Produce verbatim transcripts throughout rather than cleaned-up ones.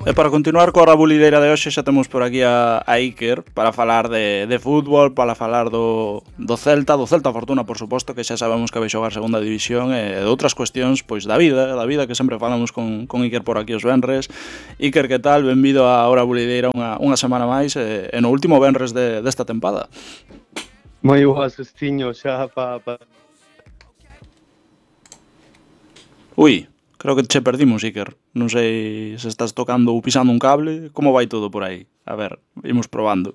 E para continuar coa rabulideira de hoxe xa temos por aquí a, a Iker para falar de, de fútbol, para falar do, do Celta, do Celta Fortuna, por suposto, que xa sabemos que vai xogar segunda división e de outras cuestións pois da vida, da vida que sempre falamos con, con Iker por aquí os venres. Iker, que tal? Benvido a Hora Bulideira unha, unha semana máis e, e no último venres de, desta tempada. Moi boas, Estiño, xa pa... pa... Ui, creo que che perdimos, Iker. Non sei se estás tocando ou pisando un cable. Como vai todo por aí? A ver, imos probando.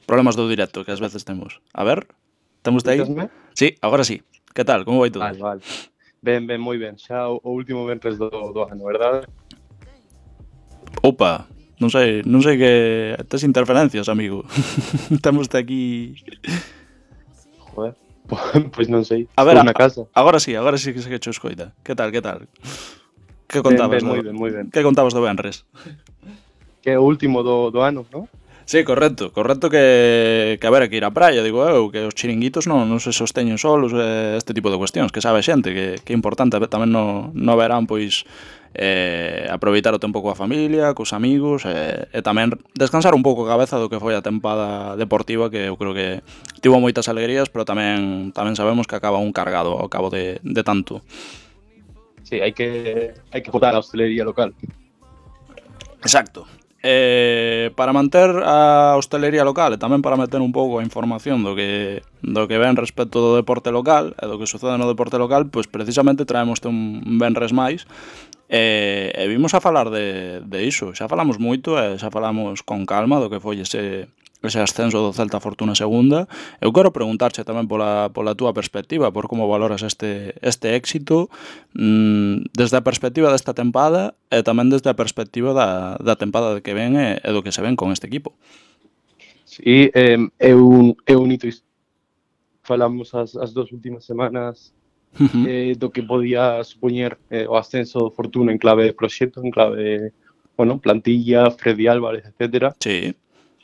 Problemas do directo que ás veces temos. A ver, temos de aí? Escúchasme? Sí, agora sí. Que tal? Como vai todo? Vale, vale. Ben, ben, moi ben. Xa o, o último venres do, do ano, verdade? Opa, non sei, non sei que tes interferencias, amigo. Temos de aquí. Joder, pois non sei. A ver, Estou na casa. a, agora sí, agora sí que se que cho escoita. Que tal, que tal? Que Ben, contabas ben, do, moi ben, moi ben. que contabas do venres? Que é o último do, do ano, non? Sí, correcto, correcto que, que a ver, que ir á praia, digo eu, que os chiringuitos non, non se sosteñen solos, eh, este tipo de cuestións, que sabe a xente, que, que é importante tamén no, no verán, pois, eh, aproveitar o tempo coa familia, cos amigos, eh, e tamén descansar un pouco a cabeza do que foi a tempada deportiva, que eu creo que tivo moitas alegrías, pero tamén tamén sabemos que acaba un cargado ao cabo de, de tanto. Sí, hai que hai que botar a hostelería local. Exacto. Eh, para manter a hostelería local e tamén para meter un pouco a información do que do que ven respecto do deporte local e do que sucede no deporte local, pois precisamente traemos un venres máis e, e vimos a falar de, de iso. Xa falamos moito e xa falamos con calma do que foi ese ese ascenso do Celta Fortuna segunda. Eu quero preguntarche tamén pola, pola túa perspectiva, por como valoras este, este éxito mmm, desde a perspectiva desta tempada e tamén desde a perspectiva da, da tempada que ven e, e do que se ven con este equipo. Sí, eh, é un, é un hito. Falamos as, as dos últimas semanas Uh-huh. eh, do que podía supoñer eh, o ascenso do Fortuna en clave de proxecto, en clave de, bueno, plantilla, Freddy Álvarez, etcétera. Sí.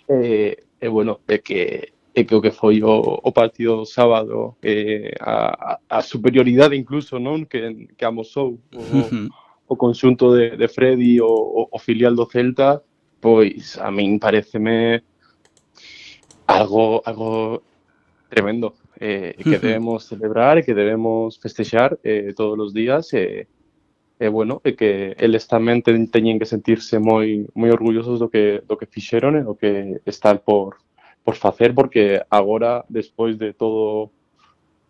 E, e bueno, é que é que o que foi o, o partido do sábado, eh, a, a superioridade incluso, non, que, que amosou o, Uh-huh. o conxunto de, de Freddy, o, o filial do Celta, pois a min pareceme algo algo tremendo, eh, que debemos celebrar e que debemos festexar eh, todos os días e, e bueno, e que eles tamén ten, teñen que sentirse moi moi orgullosos do que do que fixeron e do que están por por facer, porque agora, despois de todo,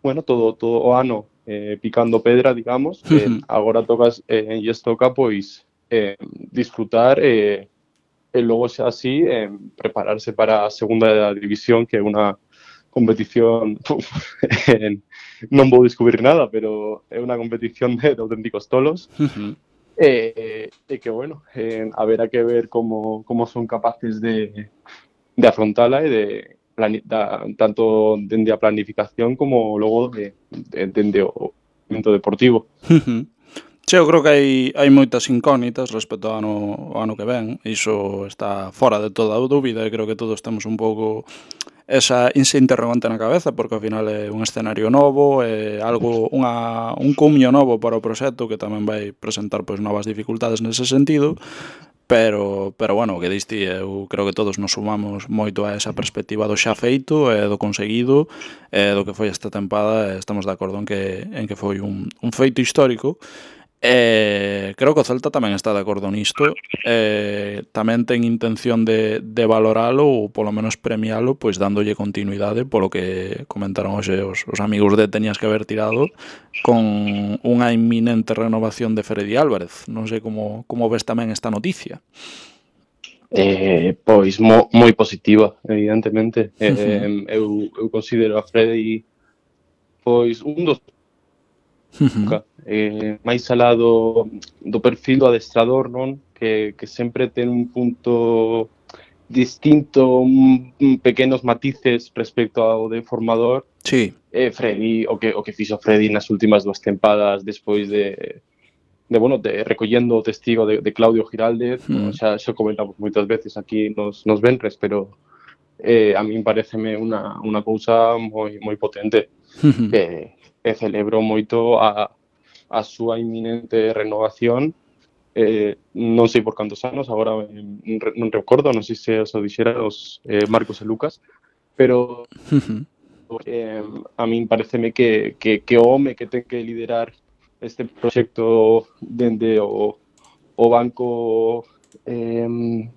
bueno, todo todo o ano eh, picando pedra, digamos, eh, agora tocas eh, e lles toca pois eh, disfrutar e eh, e logo xa así eh, prepararse para a segunda división, que é unha competición uf, eh, non vou descubrir nada, pero é unha competición de, de auténticos tolos. Uh-huh. E, e que, bueno, eh, haberá que ver como, como son capaces de, de afrontala e de plani, da, tanto dende a planificación como logo de, de, dende o momento deportivo. Uh-huh. Sí, eu creo que hai, hai moitas incógnitas respecto ao ano, ao ano que ven. Iso está fora de toda a dúbida e creo que todos temos un pouco esa, ese interrogante na cabeza, porque ao final é un escenario novo, é algo, unha, un cumio novo para o proxecto que tamén vai presentar pois novas dificultades nese sentido, pero, pero bueno, o que diste, eu creo que todos nos sumamos moito a esa perspectiva do xa feito e do conseguido e do que foi esta tempada, e estamos de acordo en que, en que foi un, un feito histórico. E creo que o Celta tamén está de acordo nisto, e tamén ten intención de, de valoralo ou polo menos premialo, pois dándolle continuidade polo que comentaron hoxe os, os amigos de Tenías que haber tirado con unha inminente renovación de Freddy Álvarez. Non sei como, como ves tamén esta noticia. Eh, pois mo, moi positiva, evidentemente. Eh, eu, eu considero a Freddy pois un dos Uh-huh. eh, máis alá do, do perfil do adestrador, non? Que, que sempre ten un punto distinto, un, un pequenos matices respecto ao de formador. Sí. Eh, Freddy, o que o que fixo Freddy nas últimas dúas tempadas despois de de bueno, de recollendo o testigo de, de Claudio Giraldez, Uh-huh. no, xa, xa comentamos moitas veces aquí nos, nos venres, pero eh, a min pareceme unha, unha cousa moi moi potente. Uh-huh. Que e celebro moito a, a súa inminente renovación eh, non sei por cantos anos, agora eh, non recordo, non sei se os o dixera os eh, Marcos e Lucas, pero eh, a min pareceme que, que, que o home que ten que liderar este proxecto dende o, o banco eh,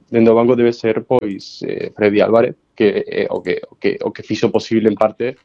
dende o banco debe ser pois eh, Freddy Álvarez, que é o que, o que o que fixo posible en parte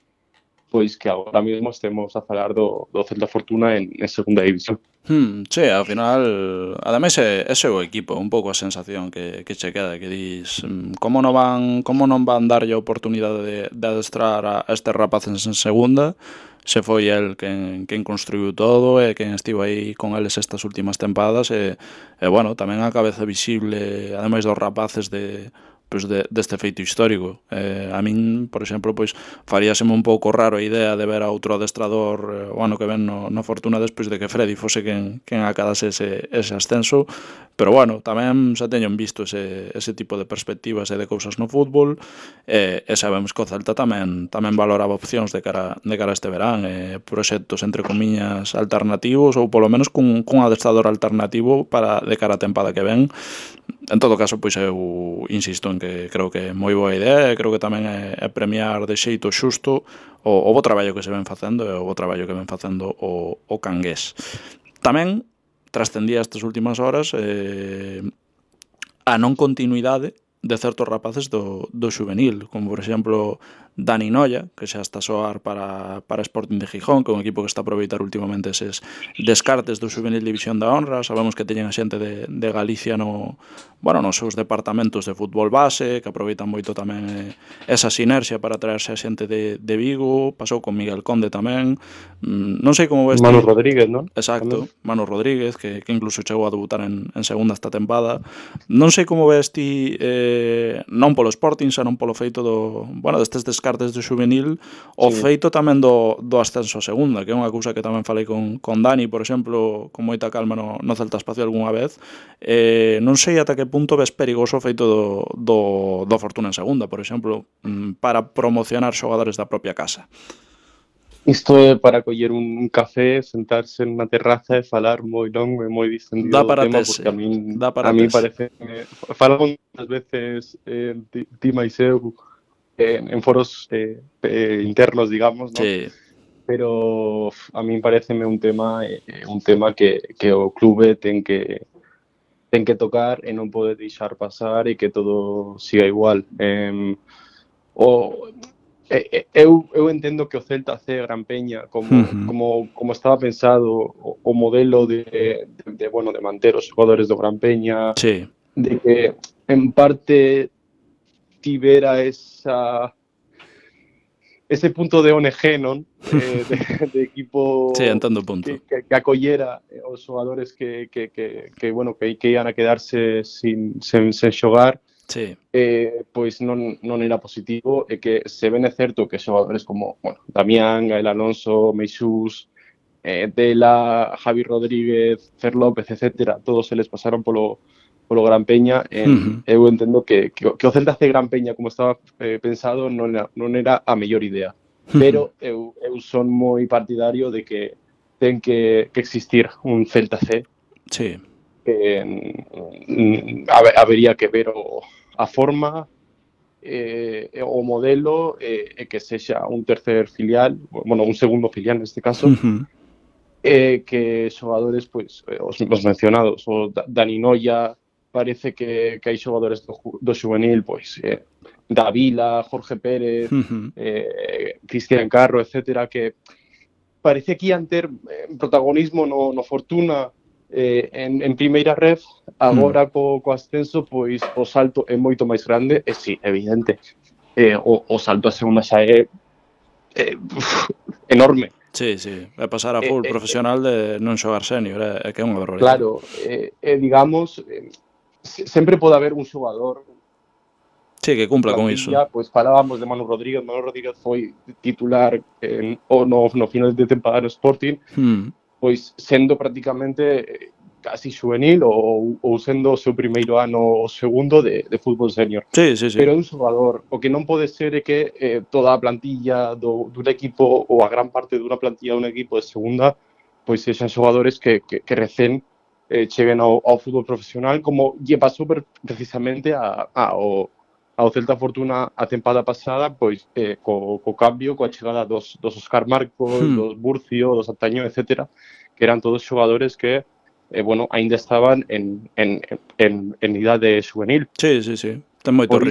pois que agora mesmo estemos a falar do, do Celta Fortuna en, en segunda división. Hmm, sí, ao final, ademais é, ese é o equipo, un pouco a sensación que, que che queda, que dis, mm, como non van, como non van darlle a oportunidade de, de adestrar a, a estes rapaces en segunda, se foi el quen, quen construiu todo e quen estivo aí con eles estas últimas tempadas e, e bueno, tamén a cabeza visible, ademais dos rapaces de pois de, deste feito histórico. Eh, a min, por exemplo, pois faríaseme un pouco raro a idea de ver a outro adestrador eh, o ano que ven no, no Fortuna despois de que Freddy fose quen, quen acadase ese, ese ascenso, pero bueno, tamén xa teñen visto ese, ese tipo de perspectivas e de cousas no fútbol e, e sabemos que o Celta tamén tamén valoraba opcións de cara, de cara a este verán, e proxectos entre comiñas alternativos ou polo menos cun, cun adestrador alternativo para de cara a tempada que ven. En todo caso, pois eu insisto en que creo que é moi boa idea e creo que tamén é, é premiar de xeito xusto o, o bo traballo que se ven facendo e o bo traballo que ven facendo o, o Cangués. Tamén trascendía estas últimas horas eh, a non continuidade de certos rapaces do, do xuvenil, como por exemplo Dani Noia, que xa está a soar para, para Sporting de Gijón, que é un equipo que está a aproveitar últimamente eses descartes do xuvenil División da Honra. Sabemos que teñen a xente de, de Galicia no, bueno, nos seus departamentos de fútbol base, que aproveitan moito tamén eh, esa sinerxia para traerse a xente de, de Vigo. Pasou con Miguel Conde tamén. Mm, non sei como ves Manu ti. Rodríguez, non? Exacto, Manu Rodríguez, que, que incluso chegou a debutar en, en segunda esta tempada. Non sei como ves ti, eh, non polo Sporting, xa non polo feito do, bueno, destes descartes do xuvenil, o Sí. feito tamén do, do ascenso a segunda, que é unha cousa que tamén falei con, con Dani, por exemplo, con moita calma no, no Celta Espacio algunha vez. Eh, non sei ata que punto ves perigoso o feito do, do, do Fortuna en segunda, por exemplo, mm, para promocionar xogadores da propia casa. Isto é para coller un café, sentarse en unha terraza e falar moi longo e moi distendido Dá do para tema, tese, porque a min, dá para a min tese. parece que falamos moitas veces eh, ti, ti máis eu eh, en foros eh, eh, internos, digamos, ¿no? Sí. Pero a min pareceme un tema eh, un tema que, que o clube ten que ten que tocar e non pode deixar pasar e que todo siga igual. Eh, o Eu, eu entendo que o Celta C Gran Peña como, Uh-huh. como, como estaba pensado o, o modelo de, de, de, bueno, de manter os xogadores do Gran Peña, Sí. de que en parte tivera esa ese punto de O N G, non? Eh, de, de equipo sí, entendo o punto. que, que, que acollera os xogadores que, que, que, que, bueno, que, que ian a quedarse sin, sen, sen xogar. Sí. Eh, pois non, non era positivo e que se ben é certo que xogadores como, bueno, Damián, Gael Alonso, Meixús, eh, Dela, Javi Rodríguez, Fer López, etcétera, todos eles pasaron polo, polo Gran Peña. En, Uh-huh. Eu entendo que, que, que o Celta C Gran Peña, como estaba eh, pensado, non era, non era a mellor idea. Uh-huh. Pero eu, eu son moi partidario de que ten que, que existir un Celta C. Sí. Que mm, habería que ver o, a forma eh, o modelo e eh, que sexa un tercer filial, bueno, un segundo filial neste caso, Uh-huh. eh, que xogadores, pois, pues, os, os mencionados, o Dani Noia, parece que, que hai xogadores do, do juvenil, pois, eh, Davila, Jorge Pérez, Uh-huh. eh, Cristian Carro, etcétera, que parece que ian ter eh, protagonismo no, no Fortuna eh, en, en primeira ref, agora co, co ascenso, pois o salto é moito máis grande, e si, evidente, eh, o, o salto a segunda xa é eh, uf, enorme. Sí, sí, é pasar a full eh, profesional de non xogar senior, é, é que é unha barbaridade. Claro, eh, eh, digamos, eh, sempre pode haber un xogador. Sí, que cumpla con iso. Pois falábamos de Manu Rodríguez, Manu Rodríguez foi titular en, o no, no final de temporada no Sporting, Hmm. pois sendo prácticamente casi juvenil ou, ou sendo o seu primeiro ano o segundo de, de fútbol senior. Sí, sí, sí. Pero é un xogador, o que non pode ser é que eh, toda a plantilla do, dun equipo ou a gran parte dunha plantilla dun equipo de segunda pois sexan xogadores que, que, que recén eh, cheguen ao, ao fútbol profesional, como lle pasou precisamente a, a, ao, ao Celta Fortuna a tempada pasada, pois eh, co, co cambio, coa chegada dos, dos Óscar Marcos, Hmm. dos Burcio, dos Antaño, etcétera, que eran todos xogadores que, eh, bueno, aínda estaban en, en, en, en idade juvenil. Sí, sí, sí. Ten moito Por